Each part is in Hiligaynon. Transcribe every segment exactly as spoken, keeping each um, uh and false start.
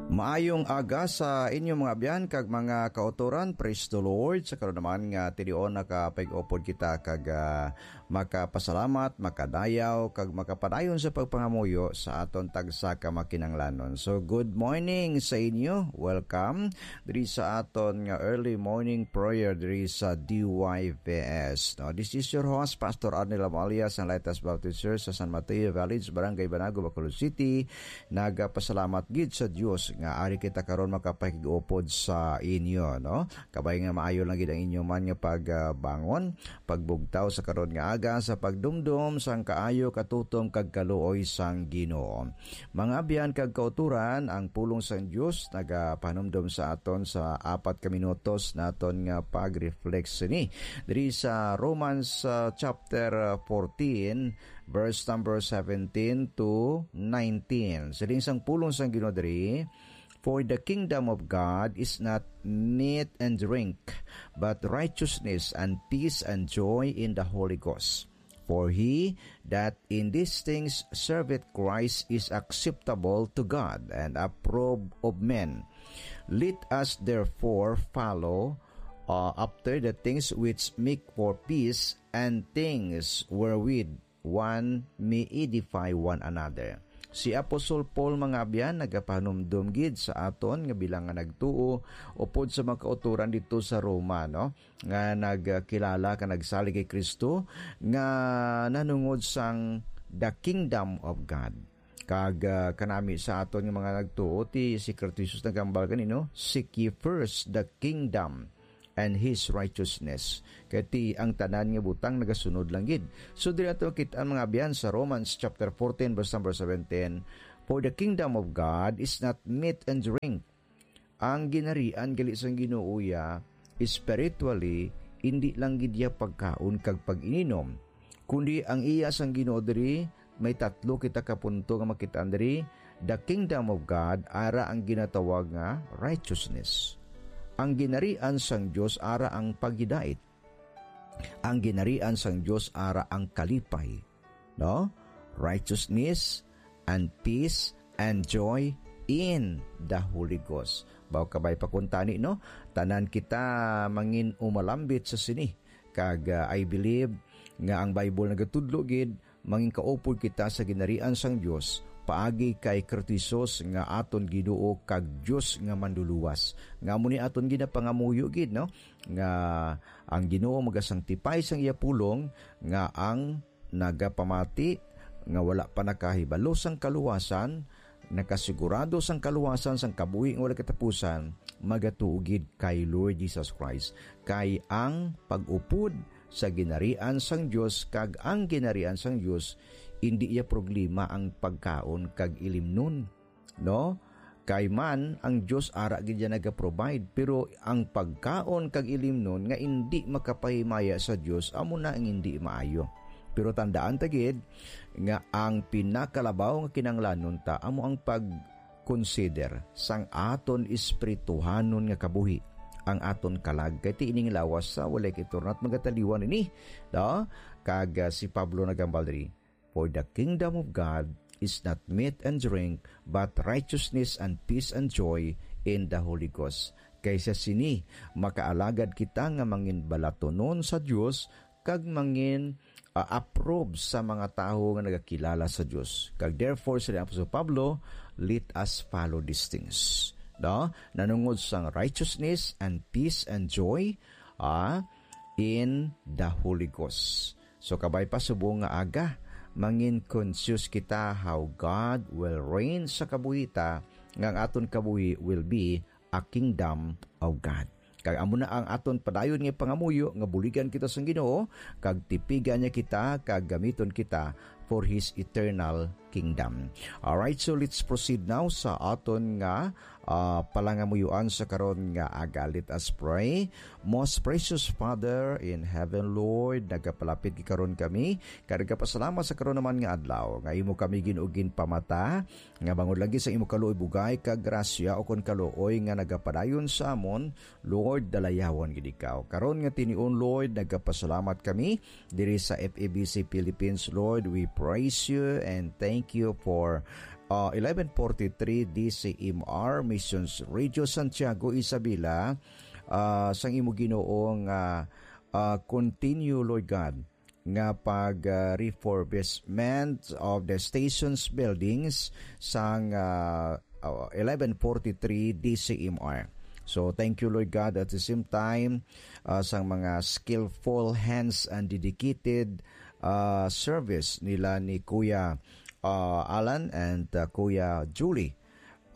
Maayong aga sa inyo, mga abyan kag mga kautoran. Praise the Lord. Sa karon naman nga tinion, nakapag-upod kita kag, ah, makapasalamat, makadayaw kag makapadayon sa pagpangamuyo sa aton tagsa ka makinanglanon. So, good morning sa inyo. Welcome diri sa aton nga early morning prayer diri sa D Y V S. No, this is your host, Pastor Arnel Amalia, sang Lighthouse Baptist Church sa San Mateo Village, Barangay Banago, Bacolod City. Nagapasalamat gid sa Dios nga ari kita karon makapakig-upod sa inyo, no? Kabay nga maayo lang gid ang inyo man nga pagbangon, pagbugtaw sa karon nga aga sa pagdumdom sang kaayo, katutom kag kaluoy sang Ginoo. Mga abyan kag kauturan, ang pulong sang Dios nagapanumdom sa aton sa apat ka minutos naton nga pag-reflect sini diri sa Romans, uh, chapter, uh, fourteen, verse number seventeen to nineteen. Siling sang pulong sang Ginoo diri, "For the kingdom of God is not meat and drink, but righteousness and peace and joy in the Holy Ghost. For he that in these things serveth Christ is acceptable to God and approved of men. Let us therefore follow, uh, after the things which make for peace and things wherewith one may edify one another." Si Apostol Paul, mga abyan, nagapanumdom gid sa aton nga bilang nga nagtuo upod sa mga kautoran dito sa Roma, no, nga nagkilala ka nagsalig kay Kristo, nga nanungod sang the kingdom of God. Kag, ah, kanami sa aton nga mga nagtuo, ti si Kristo Jesus nagambal kanino, "Seek ye first the kingdom and his righteousness." Kay ti ang tanan nga butang nagasunod lang gid. So, diri ato makit-an, mga abyan, sa Romans chapter fourteen, verse number seventeen, "For the kingdom of God is not meat and drink." Ang ginarian gali sang Ginoo iya, spiritually, indi lang gid iya pagkaon kag pag-ininom, kundi ang iya sang Ginoo diri, may tatlo kita ka punto nga makit-an diri. The kingdom of God, ara ang ginatawag nga righteousness. Ang ginarian sang Dios, ara ang paghidait. Ang ginarian sang Dios, ara ang kalipay, no? Righteousness and peace and joy in the Holy Ghost. Baw kabay pa kuntani, no? Tanan kita mangin umalambit sa sini. Kag, ah, I believe nga ang Bible nagatudlo gid, mangin kaupod kita sa ginarian sang Dios paagi kay Kristo Jesus nga aton Ginoo kag Dios nga Manluluwas. Nga amo ni aton ginapangamuyo gid, no? Nga ang Ginoo magasangtipay sang iya pulong, nga ang nagapamati nga wala pa nakahibalo sang kaluwasan, nakasigurado sang kaluwasan sang kabuhi nga wala katapusan, magatuo gid kay Lord Jesus Christ. Kay ang pag-upod sa ginarian sang Dios kag ang ginarian sang Dios, indi iya problema ang pagkaon kag ilimnon, no? Kay man ang Dios ara gid iya naga-provide, pero ang pagkaon kag ilimnon nga indi makapahimaya sa Dios, amo na ang indi maayo. Pero tandaan ta gid nga ang pinakalabaw nga kinahanglanon ta amo ang pag-consider sang aton espirituhanon nga kabuhi, ang aton kalag, kay ti ining lawas sa walay kaitornat magataliwan ini, no? Kag, ah, si Pablo nagambal diri, "For the kingdom of God is not meat and drink, but righteousness and peace and joy in the Holy Ghost." Kay sa sini, makaalagad kita nga mangin balatunon sa Dios kag mangin, ah, approve sa mga tawo nga nagakilala sa Dios. Kag therefore, sa Apostol Pablo, "Let us follow these things." No? Nanungod sang righteousness and peace and joy, ah, in the Holy Ghost. So, kabay pa subong nga aga, mangin conscious kita how God will reign sa kabuhi ta, nga ang aton kabuhi will be a kingdom of God. Kag amo na ang aton padayon nga pangamuyo, nga buligan kita sang Ginoo, kag tipigan niya kita, kag gamiton kita for His eternal kingdom. Alright, so let's proceed now sa aton nga, ah, palangamuyuan sa karon nga aga. Let us pray. Most precious Father in heaven, Lord, nagapalapit karon kami, kag nagapasalamat sa karon naman nga adlaw, nga imo kami, Ginoo, ginpamata, nga bangod lagi sa imo kaluoy, bugay kag grasya, ukon kaluoy nga nagapadayon sa amon, Lord, dalayawon gid ikaw. Karon nga tinion, Lord, nagapasalamat kami diri sa F E B C Philippines, Lord. We praise you and thank you for uh, eleven forty-three D C M R, Missions Radio Santiago, Isabela, uh, sang imo Ginoo nga, uh, continue, Lord God, nga pag, uh, refurbishment of the station's buildings sang, uh, uh, eleven forty-three D C M R. So, thank you, Lord God, at the same time, uh, sang mga skillful hands and dedicated, uh, service nila ni Kuya, uh, Alan and, uh, Kuya Julie,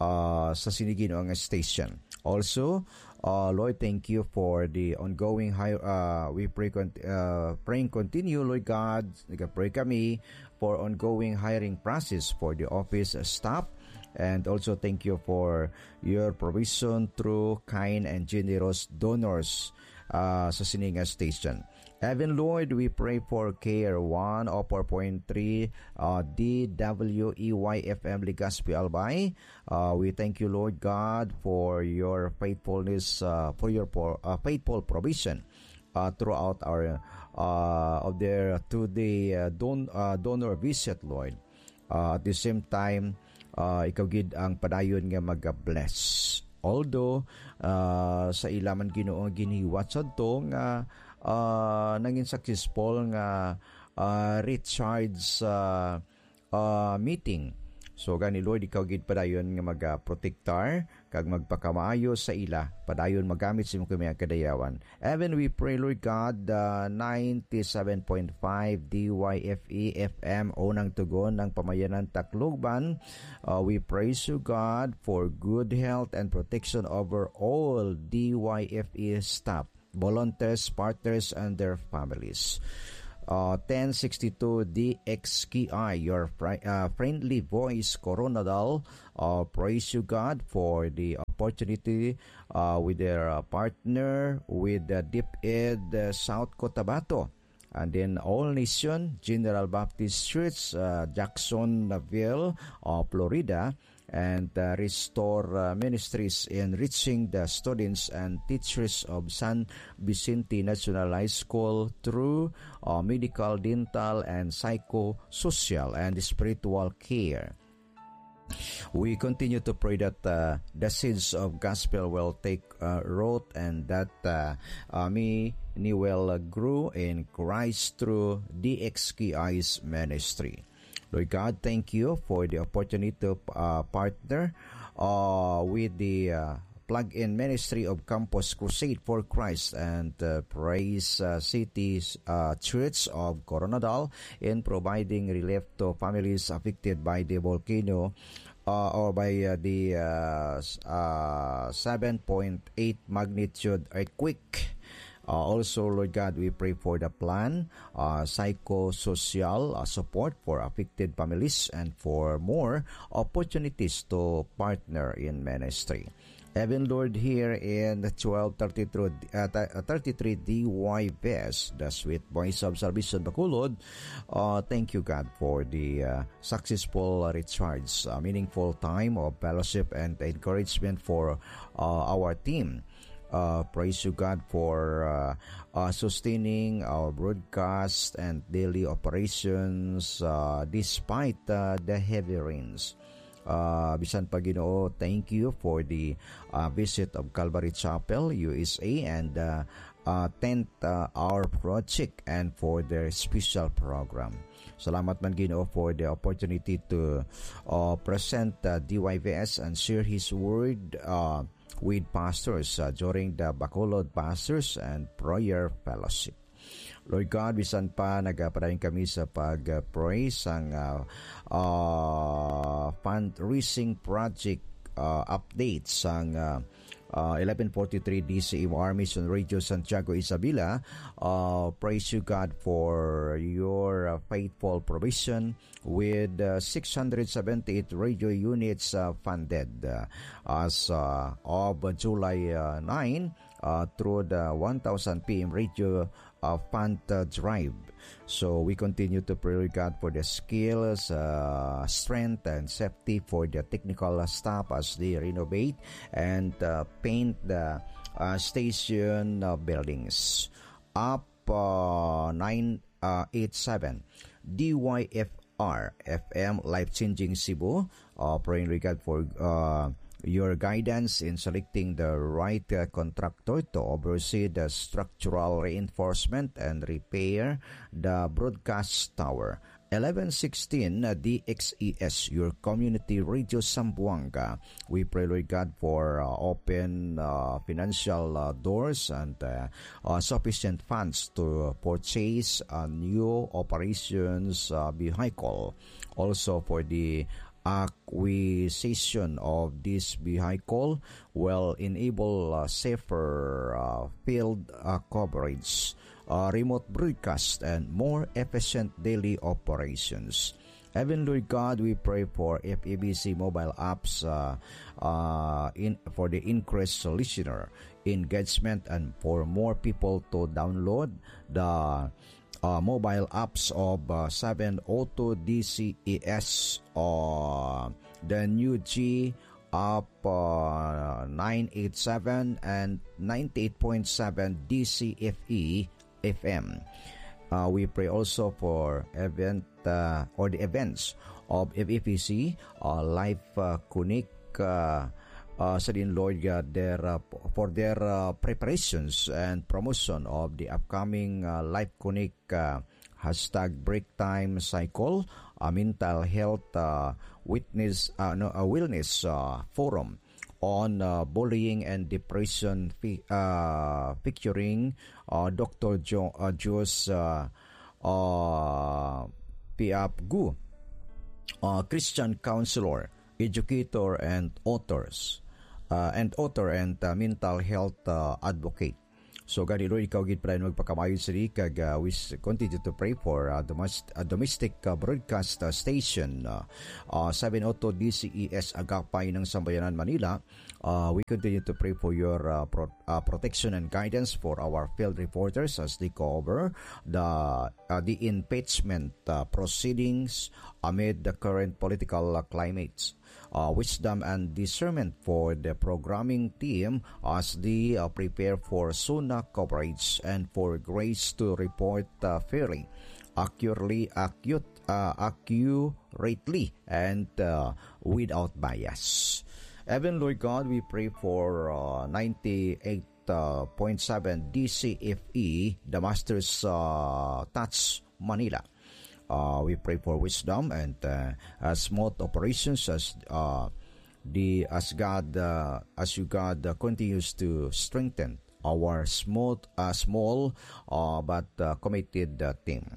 uh, sa sini Ginoo nga station. Also, uh, Lord, thank you for the ongoing high, uh, we pray con-, uh, praying continue, Lord God, nagapray kami for ongoing hiring process for the office staff. And also thank you for your provision through kind and generous donors, uh, sa sini nga station. Heaven, Lord, we pray for Care one oh four point three, uh, D W E Y F M Legazpi, Albay. Uh, we thank you, Lord God, for your faithfulness, uh, for your po-, uh, faithful provision, uh, throughout our, uh, of their two-day, uh, don-, uh, donor visit, Lord. Uh, at the same time, uh, ikaw gid ang padayon nga mag-bless. Although, uh, sa ila man, Ginoo, ang ginhiwat sadto nga, uh, nangin successful nga, uh, recharge, uh, uh, meeting. So, gani, Lord, ikaw gid padayon nga mag-, uh, protektar kag magpakamaayo sa ila, padayon magamit sa imong kamayang kadayawan. Even we pray, Lord God, uh, ninety-seven point five D Y F E F M, unang tugon ng Pamayanan, Tacloban. Uh, we praise you, God, for good health and protection over all D Y F E staff, volunteers, partners, and their families. Uh, ten sixty-two D X K I, your fri-, uh, friendly voice, Coronadal. Uh, praise you, God, for the opportunity, uh, with their, uh, partner with the DepEd, uh, South Cotabato. And then All Nation, General Baptist Church, uh, Jacksonville, uh, Florida, and, uh, Restore, uh, Ministries in reaching the students and teachers of San Vicente National High School through, uh, medical, dental, and psychosocial and spiritual care. We continue to pray that, uh, the seeds of gospel will take, uh, root and that, uh, uh, many will, uh, grow in Christ through D X K I's ministry. Lord God, thank you for the opportunity to, uh, partner, uh, with the, uh, plug-in ministry of Campus Crusade for Christ and, uh, Praise, uh, City, uh, Church of Coronadal in providing relief to families affected by the volcano, uh, or by, uh, the, uh, s-, uh, seven point eight magnitude earthquake. Uh, also, Lord God, we pray for the plan, uh, psychosocial, uh, support for affected families and for more opportunities to partner in ministry. Even, Lord, here in the twelve thirty-three, uh, th-, uh, thirty-three D Y West, the Sweet Voice of Salvation Bacolod, uh, thank you, God, for the, uh, successful recharge, uh, meaningful time of fellowship and encouragement for, uh, our team. Uh, praise you, God, for, uh, uh, sustaining our broadcast and daily operations, uh, despite, uh, the heavy rains. Uh, bisan pa, Ginoo, thank you for the, uh, visit of Calvary Chapel, U S A, and, uh, uh, Tent, uh, Our Project, and for their special program. Salamat man, Ginoo, for the opportunity to, uh, present, uh, D Y V S and share His Word, uh, with pastors, uh, during the Bacolod Pastors and Prayer Fellowship. Lord God, bisan pa nagapadayon kami sa pag-pray sang, uh, uh, fundraising project, uh, update sang, uh, uh, eleven forty-three D C M R Mission Radio Santiago, Isabela. Uh, praise you, God, for your, uh, faithful provision with, uh, six hundred seventy-eight radio units, uh, funded, uh, as, uh, of July, uh, nine, uh, through the one thousand P M radio, uh, fund, uh, drive. So we continue to pray, God, for the skills, uh, strength, and safety for the technical staff as they renovate and, uh, paint the, uh, station, uh, buildings. Up, uh, nine, uh, eight seven. D Y F R F M, Life Changing Cebu, Uh, praying, Lord God, for uh, your guidance in selecting the right uh, contractor to oversee the structural reinforcement and repair the broadcast tower. Eleven sixteen, uh, D X E S, your community radio Zamboanga. We pray, Lord God, for uh, open uh, financial uh, doors and uh, uh, sufficient funds to purchase a new operations uh, vehicle. Also for the acquisition of this vehicle will enable uh, safer uh, field uh, coverage, uh, remote broadcast, and more efficient daily operations. Heaven, Lord God, we pray for F E B C mobile apps uh, uh, in for the increased listener engagement and for more people to download the uh, mobile apps of uh, seven oh two D C E S or the new G app uh, nine eight seven and ninety-eight point seven D C F E F M. Uh, we pray also for event uh, or the events of F E P C, uh, Life uh, Connect, uh, uh, sa din, Lord God, their, uh, for their uh, preparations and promotion of the upcoming uh, Life Connect uh, hashtag break time cycle, uh, mental health uh, witness, uh, no, uh, wellness uh, forum on uh, bullying and depression, fi- uh, featuring uh, Doctor Jo- uh, Jos uh, uh, Piap Gu, uh, Christian counselor, educator, and authors, uh, and author and uh, mental health uh, advocate. So, gani, Lord, ikaw gid padayon magpakamayo sini, kag uh, we s- continue to pray for uh, domest- uh, domestic uh, broadcast uh, station uh, uh, seven oh two D C E S Agapay ng Sambayanan, Manila. Uh, we continue to pray for your uh, pro- uh, protection and guidance for our field reporters as they cover the uh, the impeachment uh, proceedings amid the current political uh, climates. Uh, wisdom and discernment for the programming team as they uh, prepare for SONA coverage and for grace to report uh, fairly, accurately, acute, uh, accurately, and uh, without bias. Heaven, Lord God, we pray for uh, ninety-eight point seven D C F E, the Master's uh, Touch Manila. Uh, we pray for wisdom and uh, uh, smooth operations as uh, the as God uh, as you God uh, continues to strengthen our smooth, uh, small uh, but uh, committed uh, team.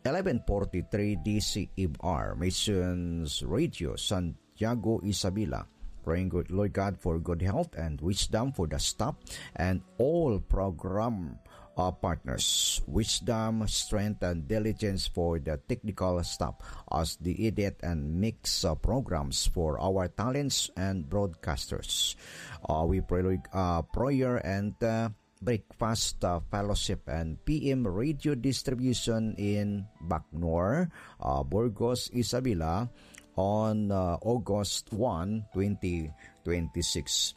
Eleven forty-three D C E R Missions Radio Santiago, Isabela. Praying, good Lord God, for good health and wisdom for the staff and all program uh, partners. Wisdom, strength, and diligence for the technical staff as they edit and mix uh, programs for our talents and broadcasters. Uh, we pray, Lord, uh, prayer and uh, breakfast uh, fellowship and P M radio distribution in Bacnor, uh, Burgos, Isabela on uh, August one, twenty twenty-six.